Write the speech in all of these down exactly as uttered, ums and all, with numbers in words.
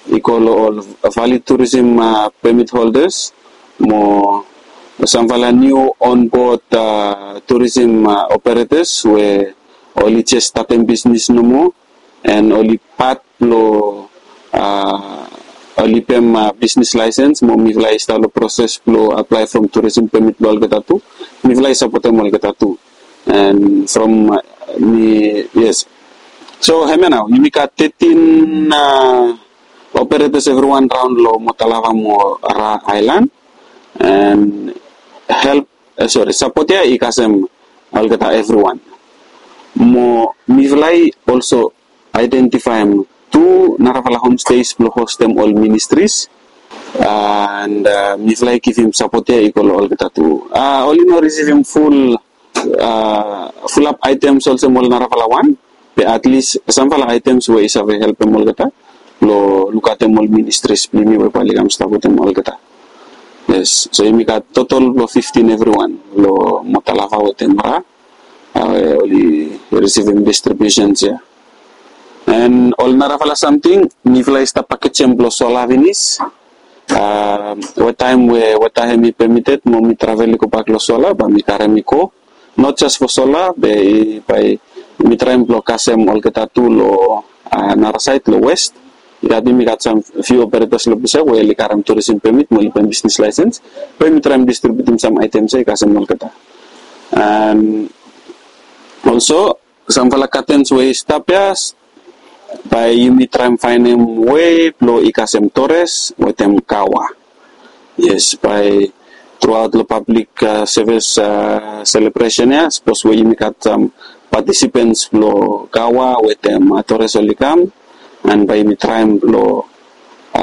i go long ol valid tourism permit holders mo samfala niu onboard tourism operators we oli jes statem bisnis nomo, and oli pat blong oli pem bisnis laesens mo mifala i stap long proses blong apply from tourism permit blong olgeta tu. Mifala i sapotem olgeta tu. And from mi, yes. So hemia nao yumi gat thirteen operators, everyone raon long Motalava mo Ra Island, and help, sorry, sapot ya i kasem olgeta everyone. Mo mifala i also identifaem tu narafala homestays blong hostem ol ministries, and mifala i givim sapot ya i go long olgeta tu. Oli no risivim ful fulap items olsem ol narafala wan, be at least samfala items we i save helpem olgeta long lukaotem ol ministries blong yumi we bae oli kam stap wetem olgeta. Yes, so yumi gat total blong fifteen everyone long Motalava wetem Ra we oli risivim distributions ya. And ol narafala samting mifala i stap pakejem blong sola finis. Wetaem we weta hemi permitted mo mi travel i gobak long sola bae mi karem i go. Not just for sola, be bae mi traem blong kasem olgeta tu long nara saed long west. I gat, yumi gat sam few operators long ples ya we oli karem tourism permit mo oli pem bisnis laesens. Bae mi traem distributim sam items ya i kasem olgeta. And also samfala curtains we i stap ya, bae yumi traem faenem wei blong i kasem Torres wetem Kawa. Yes, bae throughout long public service celebration ya, sapos we yumi gat sam participants blong Kawa wetem Torres oli kam, and bae yumi traem blong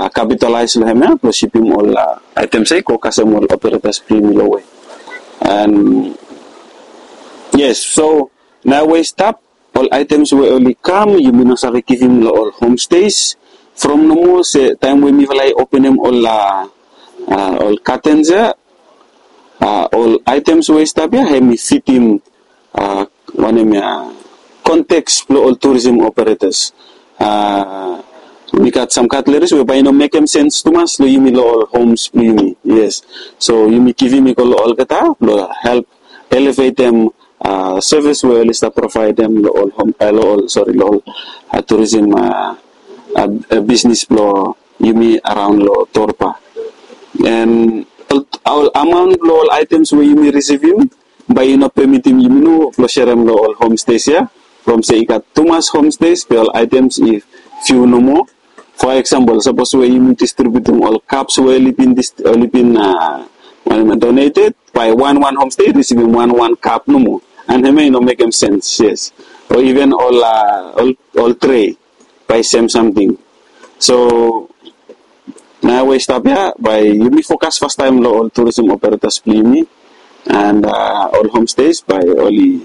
capitalize long hemia blong sipim ol items ya i go kasem ol operators blong yumi long wei. And yes, so nao we i stap, ol items we oli kam yumi no save givim long ol homestays. From nomo se taem we mifala i openem ol ol curtains ya, ol items we i stap ya hemi fitim wanem ya, context blong ol tourism operators. Mi gat sam cutleries we bae i no mekem sens tumas long yumi long ol homes blong yumi. Yes, so yumi givim i go long olgeta blong help elevatem service we oli stap provaedem long ol hom, long ol, sorry, long ol tourism bisnis blong yumi araon long Torba. And ol amaon blong ol items we yumi risivim bae i no pemitim yumi nomo blong serem long ol homestays ya. From se i gat tumas homestays be ol items i fiu nomo. For example, sapos we yumi distributim ol cups we oli bin, oli bin donated, bae wan wan homestay i risivim wan wan cup nomo. And hemia i no mekem sens, yes. O even ol ol tray bae sem samting. So nao we i stap ya bae yumi fokas fastaem long ol tourism operators blong yumi, and ol homestays bae oli,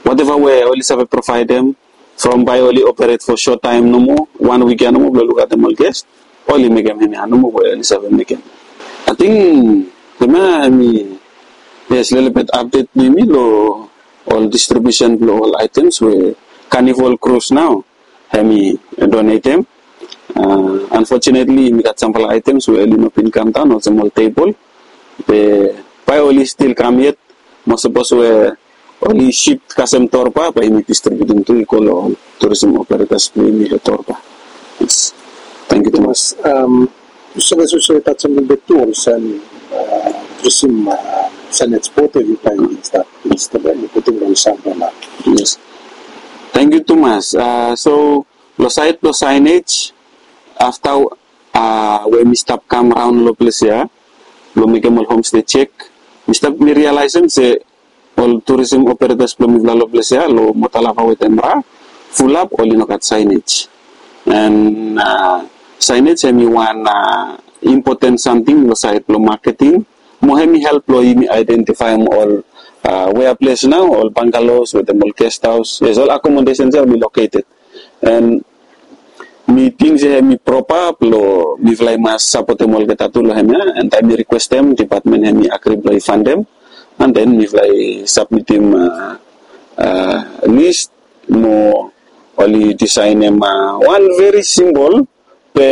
whatever we oli save provaedem, from bae oli operate for short time nomo, wan wik ya nomo blong lukaotem ol guest, oli mekem hemia nomo we oli save mekem. Ating hemia hemi, yes, lelebet update blong yumi long ol distribution blong ol items we Carnival Cruise nao hemi donatem. Unfortunately mi gat samfala items we oli no bin kamdaon olsem ol table. Be bae oli stil kam yet, mo sapos we oli shift kasem Torba bae yumi distributim tu i go long ol tourism operators blong yumi long Torba. Yes. Thank you tumas. Yu save, yu save tajem lelebet tu olsem tourism signage board we yu bae stap, stap putum long Sambana. Yes. Thank you tumas. So long saed blong signage, afta we mi stap kam raon long ples ya blong mekem ol homestay check, mi stap, mi realisem se ol tourism operators blong mifala long ples ya long Motalava wetem Ra, fulap oli no gat signage. And signage hemi wan important samting long saed blong marketing. Mo hemi help blong yumi identifaem ol wea ples nao ol bungalows wetem ol guest house, yes, ol accommodations ya oli located. And mi ting se hemi propa blong mifala i mas sapotem olgeta tu long hemia, and taem mi requestem, department hemi agri blong i fundem. And then mifala i submitim list mo oli designem wan very simple, be